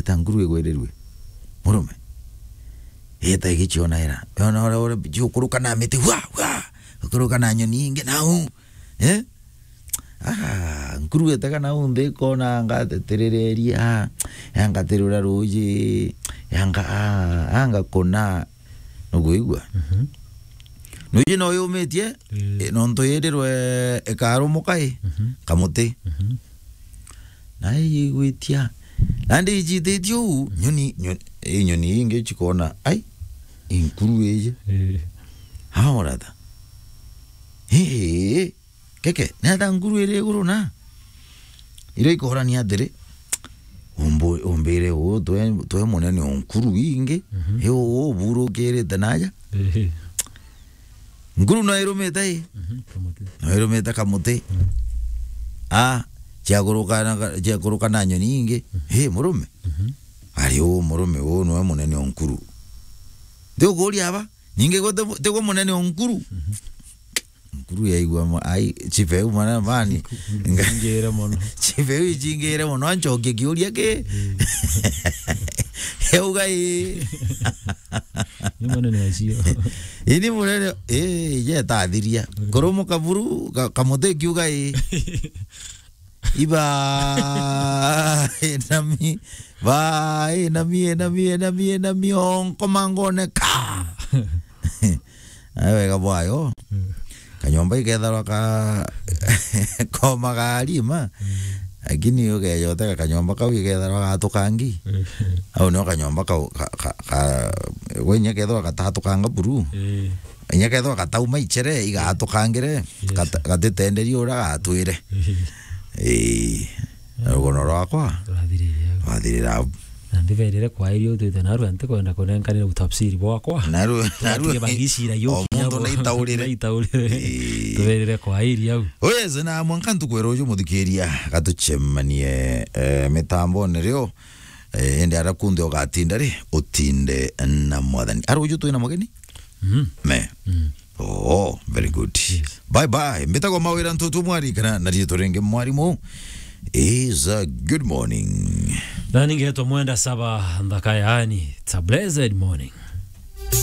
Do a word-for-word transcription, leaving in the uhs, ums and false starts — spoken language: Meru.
ta nkuru igwirirue. Murume. Ita igichiona ira. Yona ora, ora, jiukuruka na miti, wa, wa. Ukuruka na nyoni ingi, nau. Eh? Ah, nkuru itega nau nthi ikona anga teterereria, anga terura ruji, anga, ah, anga kuna. Nukwigua? Mhm. Nuji no yumitie, mm, eh, nontu yirirwe ikarumuka i, mhm, kamuti. Mhm. Na igwitia. Nandi ijititie uu, nyoni, nyoni, i nyoni ingi chikona, ai, i nkuru iji. Eh. Haorata. Hii. Keke, neta nkuru iri iguru na? Irio ikorania atiri, umbu-, umbire uu, twe, twe munene o nkuru ingi, mhm, i uu uburukirite naja? Ehe. Nkuru no irumite i? Mhm, kamuti. No irumite kamuti. Mhm. Ah, ciakuruka na ka-, ciakuruka na nyoni ingi. Mhm. Hi, murume. Mhm. Ari uu murume uu nwe munene o nkuru. Ndi ukuria aba, ningi gwe ti-, tigwe munene o nkuru. Mhm. Nkuru yaigua ma-, ai, chief eu mwana mani. Ingire mono. Chief eu ichingire mono, anchokie kiuria ki? Mm. Euga i. Ni munene acio. Ini munene, eh, je tathiria. Mm. Kurumuka buru, ka-, kamuti kiuga i. Iba, enami, ba, enami, enami, enami, enami, onko mangone ka. Ai wega bwayo. Mm. Kanyomba iketharwa ka koma ga rima. Mm. Lakini ugeja utega kanyomba kau iketharwa gatukangi. Mm. Au nio kanyomba kau ka, ka, ka, gwe inya kethwa gatatukanga buru. Eh. Inya kethwa gatauma ichere igatukangire. Yes. Gata-, gatitenderia uria gatwire. Eh. Eh. Rugono rwakwa rwathirire au. Rwathirira au. Na ndiberire kwairia utwite narua ntikwenda kunenkanira utafsiri bwakwa. Narua, narua. Tutige bagicira yo o kinya muntu bo-, naitaurire. Naitaurire. Ii. Tuberire kwairia au. Oh yes, na mwanka ntukwira uju muthikiria gatuchemanie, eh, mitambone rio, eh, indi ara kunthe ugatinda ri, utinde na mwathani. Ara uju twina mugeni? Mm. Me. Mm. Oh, very good. Yes. Bye bye. Mbitagwa Mawira Ntutu Mwari kana na riitwa ringi Mwarimu. Is a good morning. Na ningetwa Mwenda Saba Nthaka, yaani, it's a blessed morning.